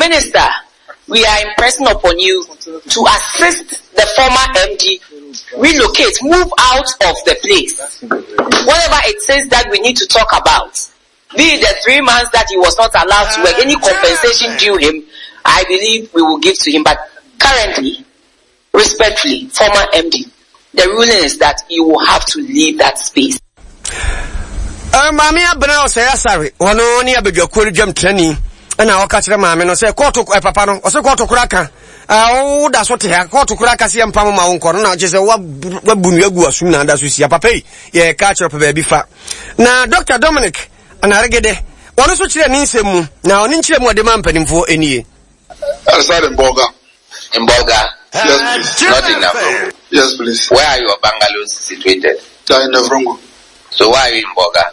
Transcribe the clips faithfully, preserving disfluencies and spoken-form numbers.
Minister, we are impressing upon you to assist the former M D relocate, move out of the place. Whatever it says that we need to talk about, be it the three months that he was not allowed to work, any compensation due him, I believe we will give to him. But currently, respectfully, former M D, the ruling is that you will have to leave that space. Maame Abena Ɔsɛe Asare, ɔno ne abadwakuo no dwam trani, ɛna ɔka kyerɛ maame no sɛ kɔɔto ɛ papa no ɔsɛ kɔɔto kora ka woda so te ha, kɔɔto kora ka sɛ yɛmpa mo ma wo nkɔ no, na kyerɛ sɛ wabu nnua gu asom na ada so sia. Papa yi, yɛka kyerɛ pɛ baabi fa. Na Doctor Dominic Anaregede, ɔno nso kyerɛ ne nsɛm mu, na ɔne nkyerɛ mu ɔde ma mpanimfoɔ nie. I reside in Bolga. In Bolga? Yes, please. Not in Navrongo? Yes, please. Where are your bungalows situated? They are in Navrongo. So why are you in Bolga?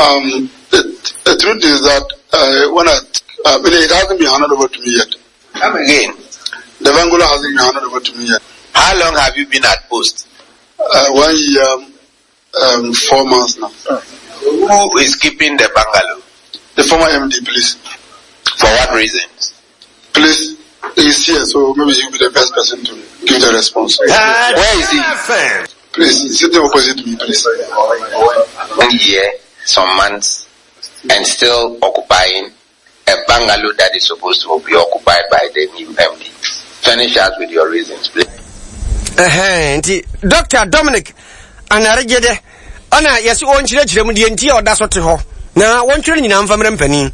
Um, the, the truth is that uh, when I, uh, it hasn't been handed over to me yet. Come again? The bungalow hasn't been handed over to me yet. How long have you been at post? Uh, one year, um, four months now. Who is keeping the bungalow? The former M D, please. For what reasons? Please, he's here, so maybe he'll be the best person to give the response. Where is he? Please, he's sitting opposite me, please. One year, some months, and still occupying a bungalow that is supposed to be occupied by the new M D. Finish us with your reasons, please. Ɛhɛn, nti Doctor Dominic Anaregede, ɔna yɛsɛ ɔnkyerɛkyerɛ mu deɛ nti a ɔda so te hɔ, na wɔntwerɛ nyinaa mfa mmerɛ mpanin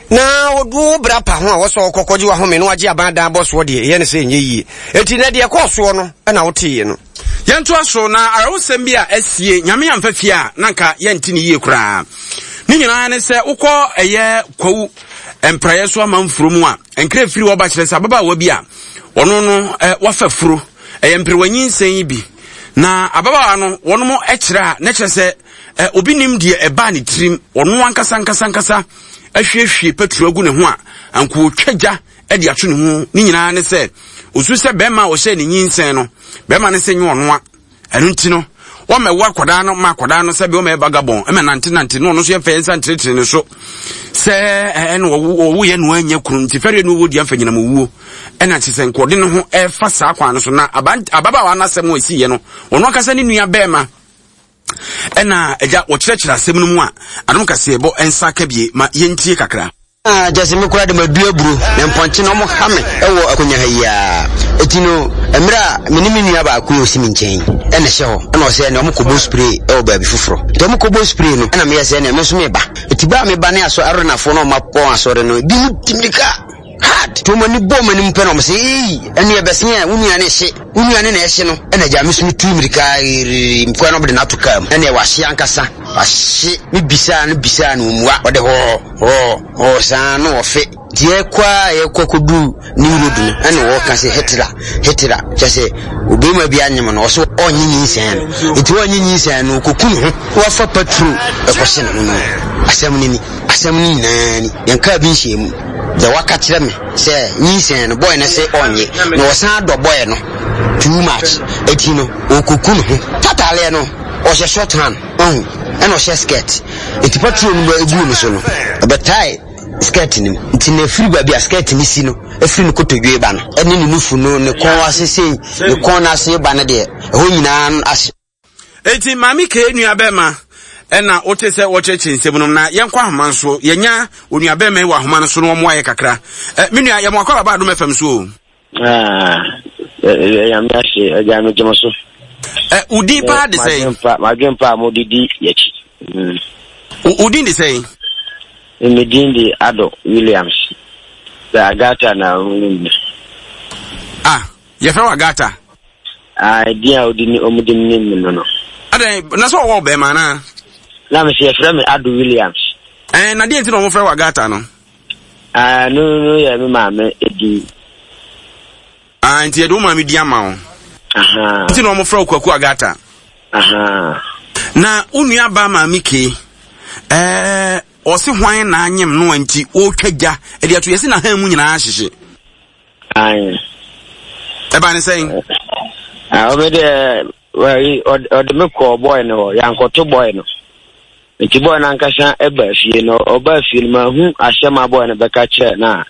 na wo bra pa ho a wɔsɔ kɔkɔgye wahome na wagye aban dan bɔ soɔ deɛ, ɛyɛ ne sɛ ɛnyɛ yie. Enti na deɛ ɛkɔɔ soɔ no ɛna woteeɛ no. Yɛntoa so na awerɛhosɛm bi a asie, Nyame amfa fie a na nka yɛnte ne yie koraa. Ne nyinaa ne sɛ wokɔ ɛyɛ Kwawu Mpraeɛ so amanfuro mu a, nkra firi wɔba kyerɛ sɛ ababaawa bi a ɔno no wafa furo, ɛyɛ mperewanyinsɛn yi bi, na ababaawa no wɔnom kyerɛ a na kyerɛ sɛ obi nim deɛ ɛbaa ne tirim, ɔno ankasa ankasa ankasa ahwiehwie petro agu ne ho a anka otwa gya de ato ne ho. Ne nyinaa ne sɛ osu sɛ bɛrima a ɔhyɛ ne nyinsɛn no, bɛrima no sɛ nyɛ ɔnoa. Ɛno nti no wɔmɛwo akwadaa no ma akwadaa no sɛbi wɔmɛyɛ vagabond ɛmɛ nante nante no, ɔno nso yɛmfa yɛn nsa ntenetene ne so sɛ ɛna ɔwo yɛ no anya kunu nti fɛreɛ no ɔwɔ di amfa nyinam owuo, ɛna kyerɛ sɛ nkɔde ne ho ɛfa saa kwan no so. Na ababaawa no asɛm a ɛsiiɛ no, ɔno ankasa ne nua bɛrima ɛna agya wɔkyerɛkyerɛ asɛm no mu a Adom Kaseɛbɔ nsa ka bie ma yɛntie kakra. Ah, gyese me koraa de madu aburo na mpɔnkye na ɔmo ha me ɛwɔ akonnwa ha yi a. Eti no mmerɛ a me ne me nua baako yɛ osi me nkyɛn ɛna ɛhyɛ hɔ, ɛna ɔsɛ ɛna ɔmo kɔbɔ spray ɛwɔ baabi foforɔ, nti ɔmo kɔbɔ spray no, ɛna meyɛ sɛ ɛna me nso meba. Eti baa meba ne asɔ arenafoɔ na ɔmo akɔ asɔre no ebi mu di mirika hard nti ɔmo ani bɔ ɔmo anim pɛ na ɔmo sɛ, "Ee, ɛne ɛbɛsen a wo nua ne hye, wo nua ne na ɛhye no." Ɛna gya me so me tu mirika riri mkwan na ɔmo de n'ato kaa mu, ɛna ɛwɔ ankasa wahye. Me bisaa no bisaa no, omua ɔde hɔɔ hɔɔ hɔɔ saa na ɔfe. Nti yɛkɔ a yɛkɔ kɔdu new road no, ɛna wɔka sɛ Hitler, Hitler, kyɛ sɛ obɛrima bi anyem no, ɔso ɔnye nyinsɛn no, nti ɔnye nyinsɛn no ɔkɔku ne ho, wafa petrol ɛkɔhye ne ho no. Asɛm no ni, asɛm no nyinaa ni, yɛnkaa bi nhyɛ mu. Deɛ waka kyerɛ me sɛ nyinsɛn no, boy no sɛ ɔnye na ɔsan dɔ boy no too much, eti no ɔkɔku ne ho. Tataaleɛ no ɔhyɛ short hand ɔhu, ɛna ɔhyɛ skirt, nti petrol no bɛ egu ne so no, ɛbɛtae skirt no mu, nti na efiri baabi a skirt no si no, efiri ne kotodwe ba no ɛne ne nufu no, ne kɔn ase sei, ne kɔn n'ase ba no deɛ, ɛhɔ nyinaa ahye. Eti Maame Kee nua bɛrima ɛna wote sɛ wɔkyerɛkyerɛ nsɛm no. Na yɛnkɔ ahoma no so, yɛnya onua bɛrima yi wɔ ahoma no so na wɔn ayɛ kakra. Ɛ me nua, yɛmo akɔ aba Adom F M so o. Nyame ase, agya, megye mo so. Ɛ wo din paa de sɛn? Madwen pa a mode di yɛkyi. Wo din de sɛn? Me din de Ado Williams. Sɛ Agata na wonim me. Ah, yɛfrɛ wo Agata? Ah, din a odi ni ɔmo de nim me no no. Adɛn, na sɛ ɔwɔ bɛrima anaa? Na me sɛ yɛfrɛ me Ado Williams. Ɛn, na deɛ nti na ɔmo frɛ wo Agata no? Ah, no no yɛ me maame edin. Ah, nti yɛde wo maame din ama wo. Aha. Nti na ɔmo frɛ wo Kwaku Agata. Aha. Na wo nua ba Maame Kee, ɛɛ ɔse hwan na anyem no a nti ɔretwa gya ɛde ato yɛsi na han mu nyinaa ahyehye? Ayi. Ɛba ne sɛn? Ah, ɔmo deɛ ɔde me kɔɔ boy no hɔ, yankɔto boy no. Nti boy no ankasa ɛba fie no, ɔba fie no, mahu asɛm a boy no bɛka kyerɛ na